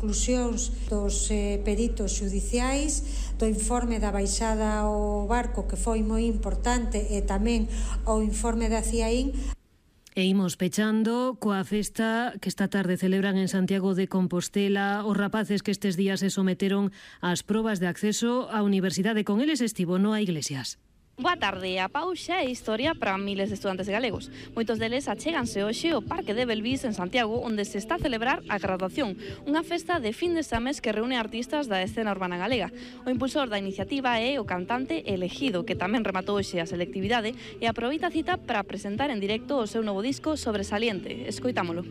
conclusións dos peritos xudiciais, do informe da baixada ao barco, que foi moi importante, e tamén o informe da CIAIN. E imos pechando coa festa que esta tarde celebran en Santiago de Compostela os rapaces que estes días se someteron ás probas de acceso á universidade. Con eles estivo Noa Iglesias. Boa tarde. A pauxa é historia para miles de estudantes galegos. Moitos deles achéganse hoxe ao Parque de Belvís en Santiago, onde se está a celebrar a graduación, unha festa de fin de exames que reúne artistas da escena urbana galega. O impulsor da iniciativa é o cantante Elegido, que tamén rematou hoxe a selectividade e aproveita a cita para presentar en directo o seu novo disco Sobresaliente. Escoitámolo.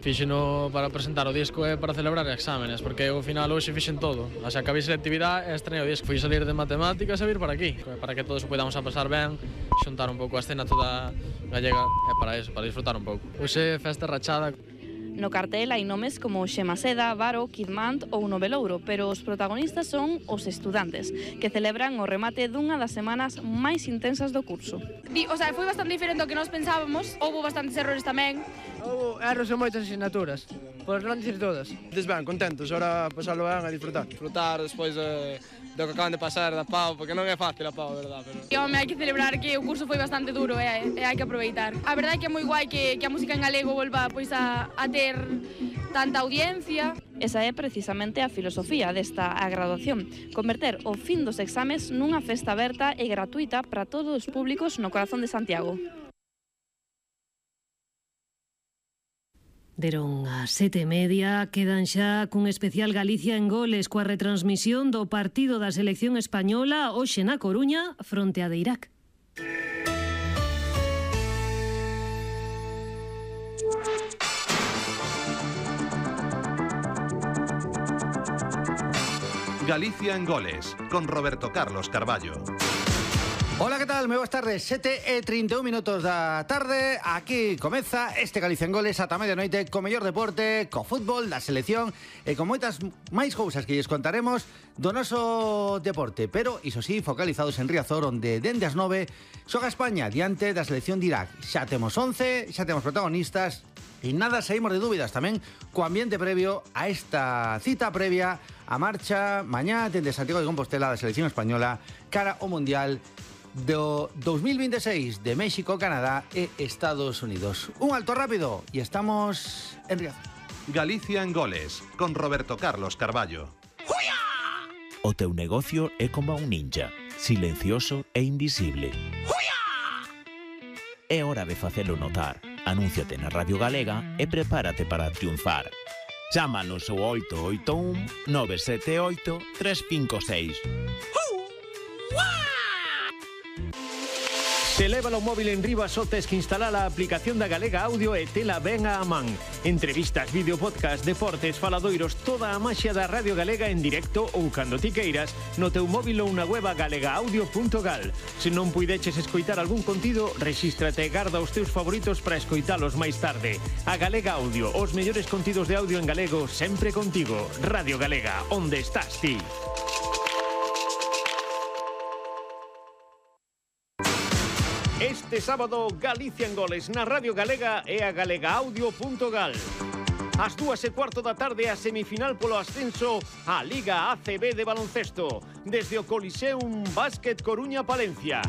Fíxeno para presentar o disco e para celebrar exámenes, porque ao final hoxe fixen todo. O sea, acabei selectividade e estrenei o disco. Fui salir de matemáticas e vir para aquí, para que todos o podamos a pasar ben, xuntar un pouco a escena toda gallega, e para eso, para disfrutar un pouco. Hoxe festa rachada. No cartel hai nomes como Xema Seda, Varo, Kidmant ou Novelouro, pero os protagonistas son os estudantes, que celebran o remate dunha das semanas máis intensas do curso. O sea, foi bastante diferente do que nós pensábamos, houve bastantes errores tamén. Houve erros en moitas asignaturas, por non dicir todas. Ben, contentos, ahora pasarlo ben a disfrutar. Disfrutar despois do que acaban de pasar da PAU, porque non é fácil a PAU, verdad? Pero... Hai que celebrar que o curso foi bastante duro e hai que aproveitar. A verdade é que é moi guai que a música en galego volva pois a ter tanta audiencia. Esa é precisamente a filosofía desta graduación, converter o fin dos exames nunha festa aberta e gratuita para todos os públicos no corazón de Santiago. Deron as 7:30, quedan xa cun especial Galicia en Goles coa retransmisión do partido da selección española hoxe na Coruña fronte a de Irak. Galicia en Goles, con Roberto Carlos Carballo. Hola, ¿qué tal? Moi boas tardes, 7:31 da tarde. Aquí comeza este Galicia en Goles ata medianoite co mellor deporte, co fútbol, da selección e con moitas máis cousas que lles contaremos do noso deporte. Pero, iso sí, focalizados en Riazor, onde dende as 9 xoga España diante da selección de Irak. Xa temos 11, xa temos protagonistas e nada saímos de dúbidas tamén co ambiente previo a esta cita previa a marcha mañá dende Santiago de Compostela da selección española cara ao Mundial do 2026 de México, Canadá e Estados Unidos. Un alto rápido e estamos en Riazor. Galicia en Goles, con Roberto Carlos Carballo. ¡Juya! O teu negocio é como un ninja, silencioso e invisible. ¡Juya! É hora de facelo notar. Anúnciate na Radio Galega e prepárate para triunfar. Chámanos ao 881 978 356. Se leva o móvil en riba só tes que instalar a aplicación da Galega Audio e tela ben a man. Entrevistas, vídeo, podcast, deportes, faladoiros, toda a maxia da Radio Galega en directo ou cando ti queiras no teu móvil ou na web galegaaudio.gal. Se non puideches escoitar algún contido, rexístrate e garda os teus favoritos para escoitalos máis tarde. A Galega Audio, os mellores contidos de audio en galego sempre contigo. Radio Galega, onde estás ti? Este sábado, Galicia en Goles na Radio Galega e a galegaaudio.gal. Ás 2:15 da tarde, a semifinal polo ascenso á Liga ACB de baloncesto, desde o Coliseum Básquet Coruña Palencia.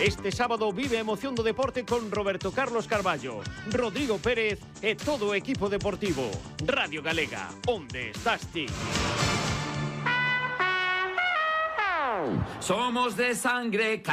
Este sábado vive a emoción do deporte con Roberto Carlos Carballo, Rodrigo Pérez e todo o equipo deportivo. Radio Galega, onde estás ti? Somos de sangre